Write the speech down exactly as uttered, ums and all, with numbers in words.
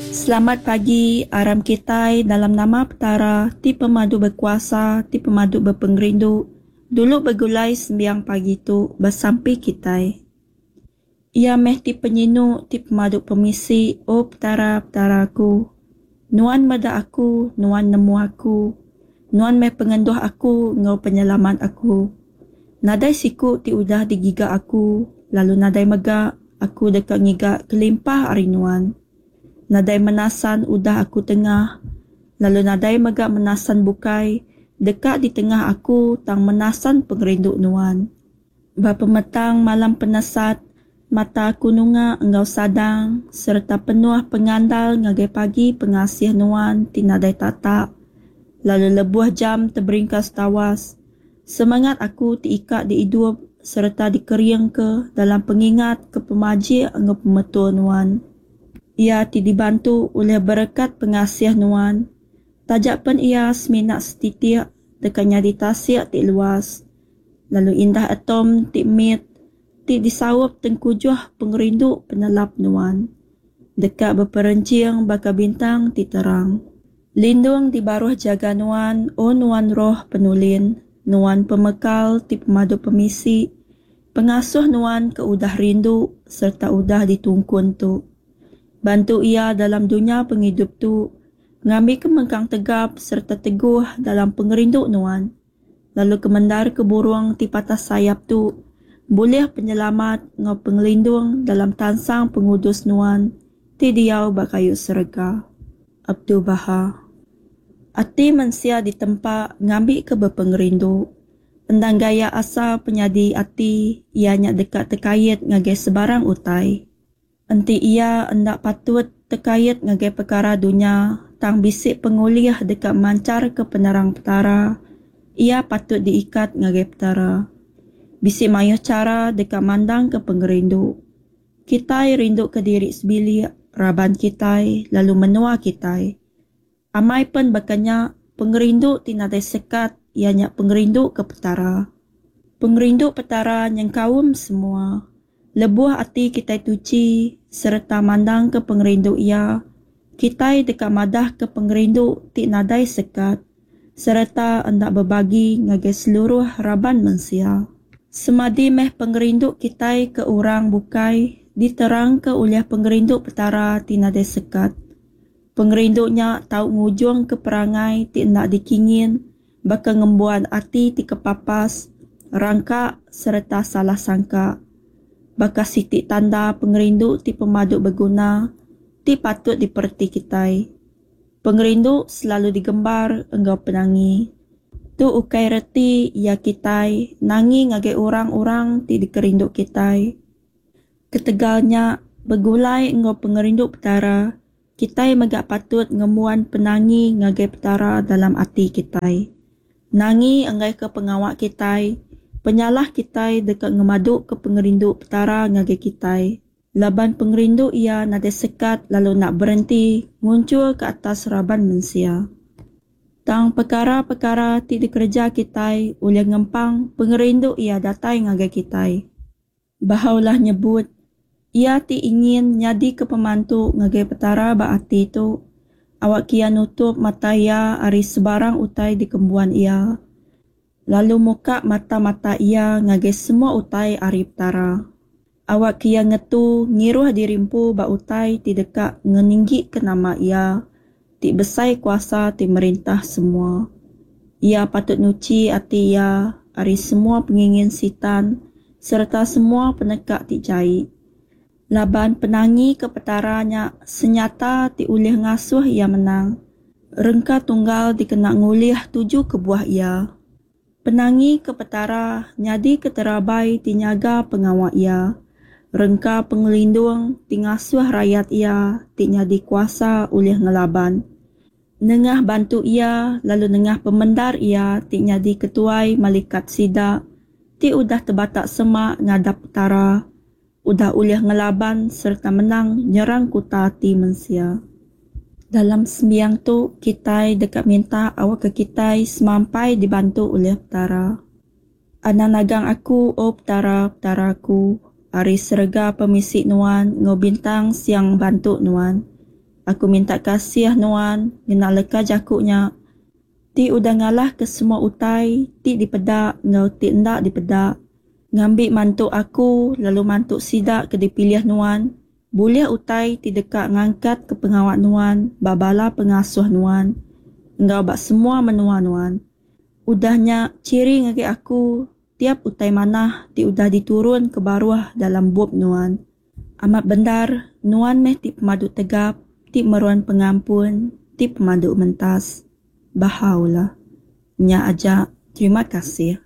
Selamat pagi, aram kitai dalam nama Petara ti pemadu bekuasa, ti pemadu bepengerindu, dulu begulai sembiang pagi tu besampi kitai. Iya meh ti penyinu, ti pemadu pemisi, O Petara, Petara aku. Nuan meda aku, Nuan nemu aku. Nuan meh pengenduh aku enggau penyelamat aku. Nadai siku ti udah digiga aku, lalu nadai mega aku deka ngiga kelimpah ari Nuan. Nadai menasan udah aku tengah, lalu nadai mega menasan bukai deka ditengah aku tang menasan pengerindu Nuan. Ba pemetang malam penesat, mata aku nunga enggau sadang sereta penuh pengandal ngagai pagi pengasih Nuan ti nadai tatak, lalu lebuh jam teberingkas tawas, semengat aku ti ika diidup sereta dikeringka dalam pengingat ke pemajik enggau pemetul Nuan. Iya ti dibantu ulih berekat pengasih Nuan, taja pen iya semina setitik deka nyadi tasik ti luas, lalu indah atom ti mit ti disaup tengkujuh pengerindu penelap Nuan, deka beperenching baka bintang ti terang. Lindung di baruh jaga Nuan, O Nuan Roh Penulin, Nuan Pemekal ti pemadu pemisi, pengasuh Nuan ke udah rindu sereta udah ditungkun tu. Bantu iya dalam dunya pengidup tu, ngambika mengkang tegap sereta teguh dalam pengerindu Nuan, lalu kemendarka burung ti patah sayap tu bulih penyelamat enggau pengelindung dalam tansang pengudus Nuan ti diau ba kayu serega. Abdu'l-Bahá. Ati mensia ditempa ngambika bepengerindu. Endang gaya asal penyadi ati iya nya deka tekait ngagai sebarang utai. Enti iya enda patut tekait ngagai pekara dunya tang bisi pengulih deka mancharka penerang Petara, iya patut diikat ngagai Petara. Bisi mayuh chara deka mandangka pengerindu. Kitai rinduka diri sebilik, raban kitai, lalu menua kitai. Amai pen baka nya, pengerindu ti nadai sekat iya nya pengerindu ke Petara. Pengerindu Petara nyengkaum semua. Lebuh ati kitai tuchi sereta mandangka pengerindu Iya, kitai deka madahka pengerindu ti nadai sekat sereta enda bebagi ngagai seluruh raban mensia. Semadi meh pengerindu kitai ke orang bukai diterangka ulih pengerindu Petara ti nadai sekat. Pengerindu nya tau ngujungka perangai ti enda dikingin baka ngembuan ati ti kepapas, rangka sereta salah sangka. Baka siti tanda pengerindu ti pemadu beguna ti patut dipereti kitai. Pengerindu selalu digembar enggau penangi. Tu ukai reti iya kitai nangi ngagai orang-orang ti dikerindu kitai. Ketegal nya, begulai enggau pengerindu Petara, kitai mega patut ngembuan penangi ngagai Petara dalam ati kitai. Nangi enggaika pengawa kitai, penyalah kitai deka ngemaduka pengerindu Petara ngagai kitai, laban pengerindu Iya nadai sekat lalu enda berenti ngunchur ke atas raban mensia. Tang pekara-pekara ti dikereja kitai ulih ngempang pengerindu Iya datai ngagai kitai. Baha'u'llah nyebut, Iya ti ingin nyadika pemantu ngagai Petara ba ati tu, awakka iya nutup mata iya ari sebarang utai dikembuan iya, lalu muka mata-mata iya ngagai semua utai ari Petara. Awakka iya ngetu ngiruh diri empu ba utai ti deka ngeninggika nama iya ti besai kuasa ti merintah semua. Iya patut nuchi ati iya ari semua pengingin Sitan sereta semua peneka ti jai. Laban penangi ke Petara nya senyata ti ulih ngasuh iya menang. Rengka tunggal dikena ngulih tuju kebuah iya. Penangi ke Petara nyadika terabai ti nyaga pengawa iya. Rengka pengelindung ti ngasuh rayat iya ti nyadi kuasa ulih ngelaban. Nengah bantu iya lalu nengah pemendar iya ti nyadi ketuai malikat sida ti udah tebatak semak ngadap Petara, udah ulih ngelaban sereta menang nyerang kuta ati mensia. Dalam sembiang tu kitai deka minta awakka kitai semampai dibantu ulih Petara. Anang nagang aku, O Petara, Petara aku, ari serega pemisi Nuan enggau bintang siang bantu Nuan. Aku minta kasih Nuan ngena leka jaku nya ti udah ngalahka semua utai ti dipeda enggau ti enda dipeda, ngambi mantu aku lalu mantu sida ke dipilih Nuan bulih utai ti deka ngangkatka pengawa Nuan ba bala pengasuh Nuan enggau ba semua menua Nuan. Udah nya chiri ngagai aku tiap utai manah ti udah diturun ke baruh dalam bup Nuan. Amat bendar, Nuan meh ti Pemadu Tegap, ti Meruan Pengampun, ti Pemadu Mentas. Bahá'u'lláh. Nya aja. Terima kasih.